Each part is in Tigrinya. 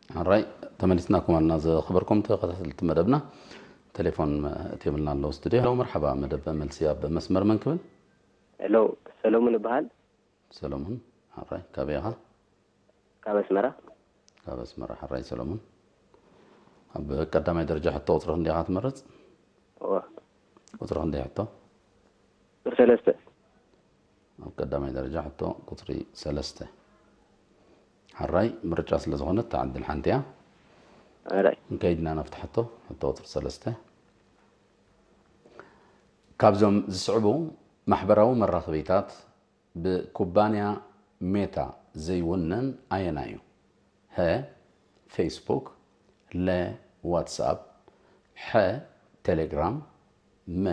ሕራይ፣ ተመሊስናኩም ኣለና። ዝኸበርኩም ተኸታተልቲ መደብና፣ ቴሌፎን እትብልና ኣለዉ ስቱድዮ። ሄሎ፣ መርሓባ፣ መደብ መልሲ ኣብ መስመር መን ክብል? ሄሎ፣ ሰሎሙን እበሃል። ሰሎሙን፣ ሕራይ፣ ካበይ ኢኻ? ካብ ኣስመራ። ካብ ኣስመራ፣ ሕራይ ሰሎሙን። ኣብ ቀዳማይ ደረጃ ሕቶ ቁጽሪ ክንደይ ኢኻ ትመርጽ? እወ። ቁጽሪ ክንደይ ሕቶ? ቁጽሪ ሰለስተ። ኣብ ቀዳማይ ደረጃ ሕቶ ቁጽሪ ሰለስተ። ሕራይ ምርጫ ስለ ዝኾነት፣ እታ ዕድል ሓንቲ እያ። ሕራይ። እንከይድና ናብቲ ሕቶ፣ ሕቶ ቁጽሪ ሰለስተ። ካብዞም ዝስዕቡ ማሕበራዊ መራኸቢታት ብኩባንያ ሜታ ዘይውነን ኣየናይ እዩ? ሀ፣ ፌስቡክ፣ ለ፣ ዋትስኣፕ፣ ሐ፣ ቴሌግራም፣ መ፣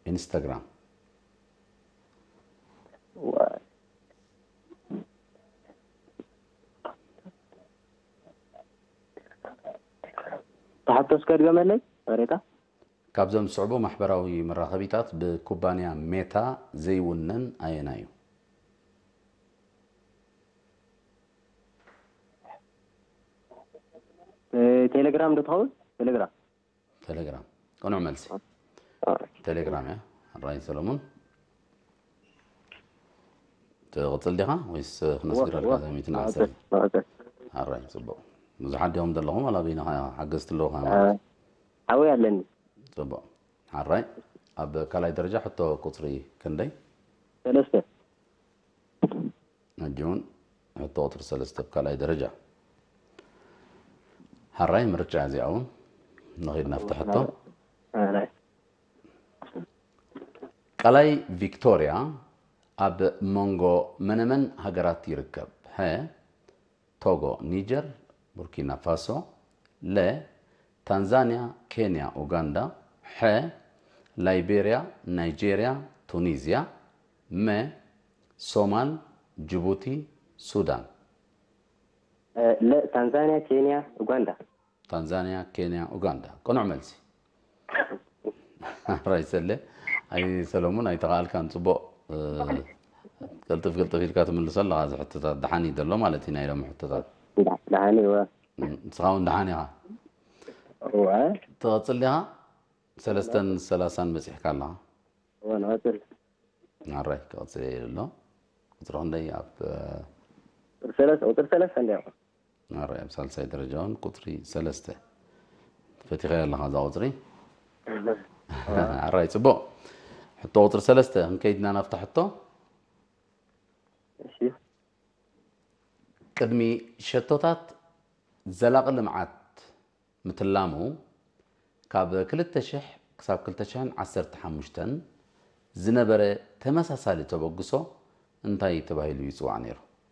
ኢንስታግራም። ተሓቶ እስከ ድገመለይ? ወሬታ? ካብዞም ዝስዕቡ ማሕበራዊ መራኸቢታት ብኩባንያ ሜታ ዘይውነን ኣየናይ እዩ? ቴሌግራም ዶ ትኸውን? ቴሌግራም። ቴሌግራም። ቅኑዕ መልሲ። ቴሌግራም እያ። ሕራይ ሰሎሙን። ትቕጽል ዲኻ ወይስ ክነስግረልካ? እወ፣ እወ። እዛ ሚእቲ ዓሰርተ። መቐጽል፣ መቐጽል። ሕራይ፣ ጽቡቕ። ብዙሓት ዲኹም ዘለኹም፣ ዋላ በይንኻ ሓገዝቲ ኣለዉኻ ማለት? ሓወይ ኣለኒ። ጽቡቕ። ሕራይ፣ ኣብ ካልኣይ ደረጃ ሕቶ ቁጽሪ ክንደይ? ሰለስተ። ሕጂ እውን ሕቶ ቁጽሪ ሰለስተ ኣብ ካልኣይ ደረጃ። ሕራይ፣ ምርጫ እዚኣ እውን ንኸይድ ናብቲ ሕቶ። ሕራይ። ቀላይ ቪክቶርያ ኣብ መንጎ መነመን ሃገራት ይርከብ? ሀ፣ ቶጎ፣ ኒጀር፣ ቡርኪና ፋሶ፣ ለ፣ ታንዛንያ፣ ኬንያ፣ ኡጋንዳ፣ ሐ፣ ላይቤርያ፣ ናይጄርያ፣ ቱኒዝያ፣ መ፣ ሶማል፣ ጅቡቲ፣ ሱዳን። ለ፣ ታንዛንያ፣ ኬንያ፣ ኡጋንዳ። ታንዛንያ፣ ኬንያ፣ ኡጋንዳ። ቅኑዕ መልሲ። ሕራይ ሰለ፣ ኣይ ሰሎሙን ኣይተኻኣልካን፣ ጽቡቕ። እ፣ ቅልጥፍ ቅልጥፍ ኢልካ ትምልሶ ኣለኻ። እዚ ሕቶታት ደሓን እዩ ዘሎ ማለት እዩ፣ ናይ ሎሚ ሕቶታት። ደሓን እዩ፣ እወ። እ፣ ንስኻ እውን ደሓን ኢኻ። እወ። ትቐጽል ዲኻ? ሰለስተን ሰላሳን በጺሕካ ኣለኻ። እወ፣ ንቐጽል። ሕራይ፣ ክቐጽል እየ ኢሉ ኣሎ። ቁጽሪ ክንደይ ኣብ፣ እ፣ ቁጽሪ ሰለስተ፣ ቁጽሪ ሰለስተ እንድያ። ሕራይ፣ ኣብ ሳልሳይ ደረጃ እውን ቁጽሪ ሰለስተ ፈቲኻያ ኣለኻ እዛ ቁጽሪ። ሕራይ፣ ጽቡቕ። ሕቶ ቁጽሪ ሰለስተ፣ ክንከይድና ናብታ ሕቶ። እሺ። ቅድሚ ሸቶታት ዘላቒ ልምዓት ምትላሙ፣ ካብ ክልተ ሽሕ ክሳብ ክልተ ሽሕን ዓሰርተ ሓሙሽተን ዝነበረ ተመሳሳሊ ተበግሶ እንታይ ተባሂሉ ይጽዋዕ ነይሩ?